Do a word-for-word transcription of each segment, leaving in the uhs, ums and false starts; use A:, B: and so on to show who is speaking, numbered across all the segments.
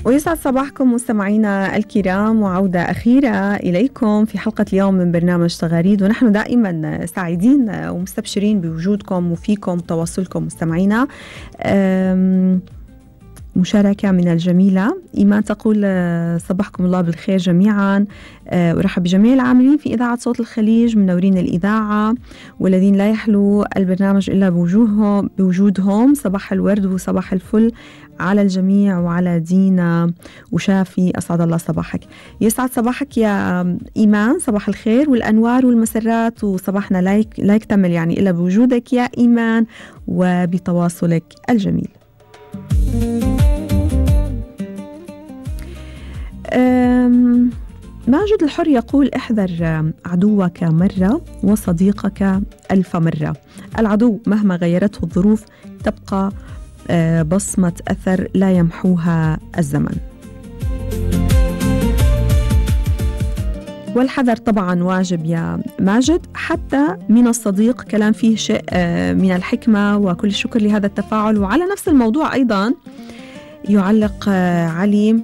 A: ويسعد صباحكم مستمعينا الكرام، وعودة أخيرة إليكم في حلقة اليوم من برنامج تغاريد، ونحن دائما سعيدين ومستبشرين بوجودكم وفيكم تواصلكم مستمعينا. مشاركة من الجميلة إيمان تقول صباحكم الله بالخير جميعا، ورحب بجميع العاملين في إذاعة صوت الخليج منورين الإذاعة والذين لا يحلو البرنامج إلا بوجوههم بوجودهم. صباح الورد وصباح الفل على الجميع وعلى دينا وشافي، أسعد الله صباحك. يسعد صباحك يا إيمان، صباح الخير والأنوار والمسرات، وصباحنا لا لا يكتمل يعني إلا بوجودك يا إيمان وبتواصلك الجميل. ماجد الحر يقول احذر عدوك مرة وصديقك ألف مرة. العدو مهما غيرته الظروف تبقى بصمة أثر لا يمحوها الزمن. والحذر طبعا واجب يا ماجد، حتى من الصديق كلام فيه شيء من الحكمة، وكل الشكر لهذا التفاعل. وعلى نفس الموضوع أيضا يعلق علي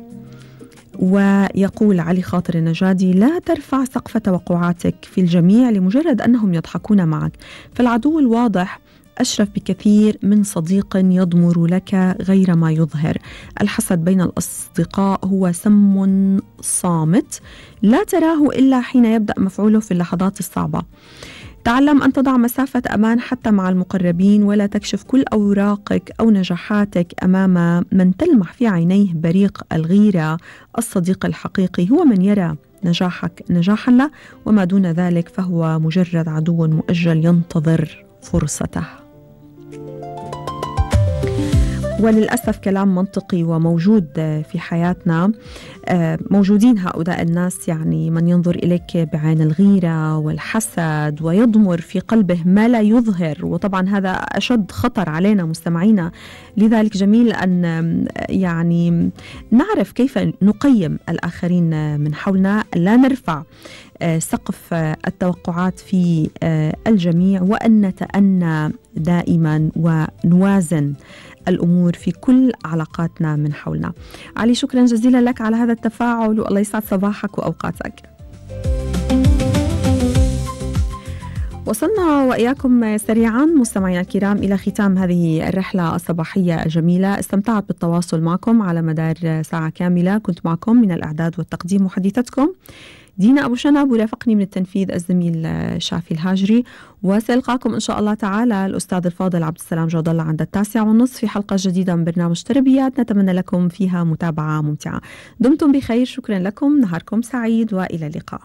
A: ويقول علي خاطر النجادي: لا ترفع سقف توقعاتك في الجميع لمجرد أنهم يضحكون معك، فالعدو الواضح أشرف بكثير من صديق يضمر لك غير ما يظهر. الحسد بين الأصدقاء هو سم صامت لا تراه إلا حين يبدأ مفعوله في اللحظات الصعبة. تعلم أن تضع مسافة أمان حتى مع المقربين، ولا تكشف كل أوراقك أو نجاحاتك أمام من تلمح في عينيه بريق الغيرة. الصديق الحقيقي هو من يرى نجاحك نجاحا له، وما دون ذلك فهو مجرد عدو مؤجل ينتظر فرصته. وللأسف كلام منطقي وموجود في حياتنا، موجودين هؤلاء الناس، يعني من ينظر إليك بعين الغيرة والحسد ويضمر في قلبه ما لا يظهر، وطبعا هذا أشد خطر علينا مستمعينا. لذلك جميل أن يعني نعرف كيف نقيم الآخرين من حولنا، لا نرفع سقف التوقعات في الجميع، وأن نتأنى دائما ونوازن الأمور في كل علاقاتنا من حولنا. علي شكرا جزيلا لك على هذا التفاعل، والله يسعد صباحك وأوقاتك. وصلنا وإياكم سريعا مستمعينا الكرام إلى ختام هذه الرحلة الصباحية الجميلة. استمتعت بالتواصل معكم على مدار ساعة كاملة، كنت معكم من الإعداد والتقديم محدثتكم دينا أبو شنب، ورافقني من التنفيذ الزميل شافي الهاجري. وسألقاكم إن شاء الله تعالى الأستاذ الفاضل عبد السلام جود الله عند التاسعة والنصف في حلقة جديدة من برنامج تربيات، نتمنى لكم فيها متابعة ممتعة. دمتم بخير، شكرا لكم، نهاركم سعيد وإلى اللقاء.